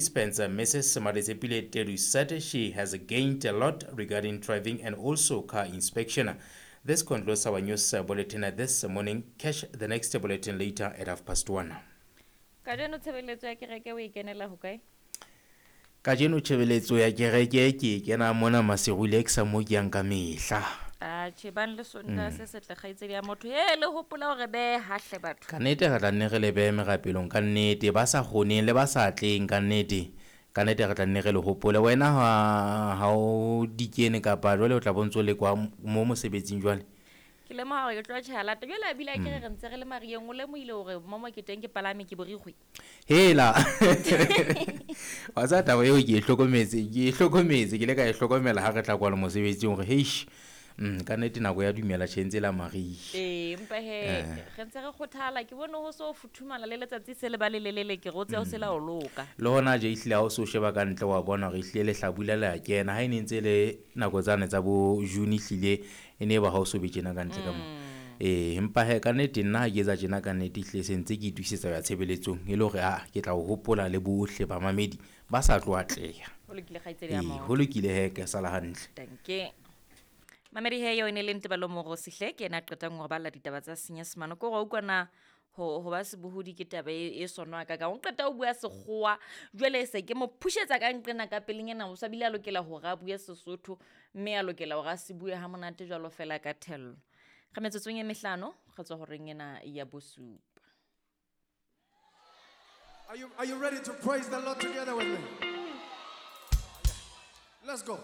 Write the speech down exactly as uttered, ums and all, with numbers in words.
Spencer, Missus Marisepile Teru, said she has gained a lot regarding driving and also car inspection. This concludes our news bulletin this morning. Catch the next bulletin later at half past one. Kajeno tshebeletso ya kereke o e kenela hokae? Kajeno tshebeletso ya kereke ke e kena mona Maseru mo ke yang ka mehla. Atjhe, bang le Sontaha se setle, kgaitsedi ya motho. He, le hopola hore behe hahle batho. Ka nnete re tla nne re le behe merapelong ka nnete, ba sa kgoneng le ba sa tleng ka nnete. Ka nnete re tla nne re le hopole. Wena ha ha o di kene kapa jwale o tla bo ntso le kwa mo mosebetsing jwale. Ke lemoha hore ke tlo tjheha lata. Jwale a bile a kere re ntse re le mariyeng, o lemohile hore mo mo ke teng ke palame ke borikgwe. Hela. Wa tseba taba eo ke e hlokometse, ke e hlokometse, ke ile ka e hlokomela ha re tla kwano mosebetsing hore heish. Mm, ka nnete nako ya dumela tjhe ntse la mariha. Ee, empa he re ntse re kgothala, ke bone ho so futhumala le letsatsi se le ba le lelele, ke re o tsebe o se la o loka. Le hona je ehlile ha o so sheba ka ntle wa bona hore ehlile lehlabula le a kena. Ha e ne ntse le nako tsane tsa bo June ehlile e ne ba ha o so be tjena ka ntle ka mo. Ee, empa he ka nnete nna ha ke etsa tjena ka nnete ehlile se ntse ke itokisetsa ho ya tshebeletsong e le hore ah ke tla o hopola le bohle bamamedi ba sa tlo atleha. Ho lokile kgaitsedi ya Ee, motho. ho lokile he ke sala hantle. Danke. Mamedi he eo e ne le Ntebalo Morosi hle, ke yena a qetang hore balla ditaba tsa Senyesemane. Ke hore wa utlwa na ho ho ba sebohodi ke taba e, e sonwa ka kang. O qeta ho bua sekgowa, jwale se ke mo pushetsa ka nqena ka pelenyana, o sa bile a lokela hore a bue Sesotho, mme a lokela hore a se bue ha monate jwalo fela ka thello. Re metsotsong e mehlano, re tswa horeng ena ya bosupa. Are you, are you ready to praise the Lord together with me? Let's go.